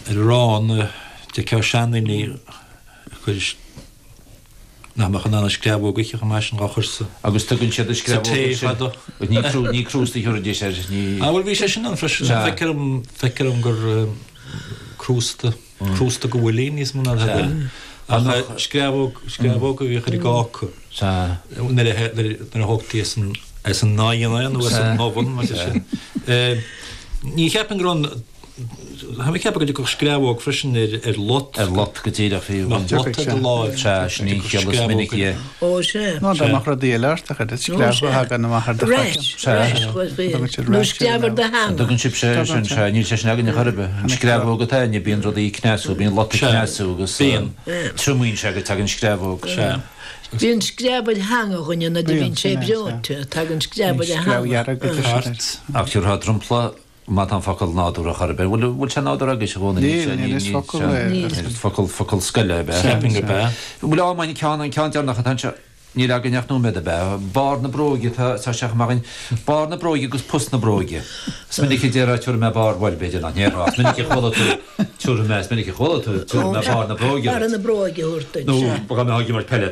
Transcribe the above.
Arán, d'fheicfeá seandaoine ag cur nach mbeadh in ann an screamhóg a ithe chomh maith sin dhá chur sa Agus tugann siad an sa screamhóg tae ansin. fadó. Ní crú, ní crústa a thabharfaidís air, ní. Ah bhuel bhí sé sin ann freisin. Sea. Feictear dom, feictear dom gur crústa, crústa go bhfuilín níos mó ná tada eile. Ach screamhóg, screamhóg a bhíodh ar an gcáca. Sea. Nuair a, nuair a thógtaí as an, as an oigheann é nó as an oven mar sin. Ní cheapaim go raibh an, Tá mé ag ceapadh go dtiocfadh screamhóg freisin ar lot. Ar lot go díreach fiú. Mbeadh lot ar do láimh. Sea, sin í an chiall is minicí é. Ó, sea. Nó dá mbeadh rudaí eile ort, a chuid screamh a thagann amach ar do Rash, rash, nó screamh ar do theanga. Tugann sibhse air sin, sea, níl sé sin againne chor ar bith. An screamhóg atá againne, bíonn rudaí ag cneasú, bíonn lot ag cneasú agus triomaíonn sé go dtagann screamhóg. Sea. Bíonn screamh ar theanga dhuine nuair a bhíonn sé breoite, tagann screamh ar a theanga. Ach thiúrfá dromchla Má tá an focal nádúrtha chor ar bith. Bhfuil, bhfuil sé nádúrtha agaibhse a Dhónaill? Níl, níl, is focal é. Níl. Focal, focal scoile ab ea? Cheapfainn gurb ea. Bhuel, á, an ceann, an ceann deireanach atá anseo, níl againn ach nóiméad ab ea? Barr na bróige atá, tá sé chomh maith againn. Barr na bróige agus pus na bróige. Is minic a déarfá tiúrfaidh mé barr, bhuel, b'fhéidir nach ndéarfá, is minic a chuala tú, tiúrfaidh mé, is minic a chuala tú, tiúrfaidh mé barr na bróige Barr duit. na bróige a thabhairt duit, Nó sea. dá mbeifeá ag imirt peile.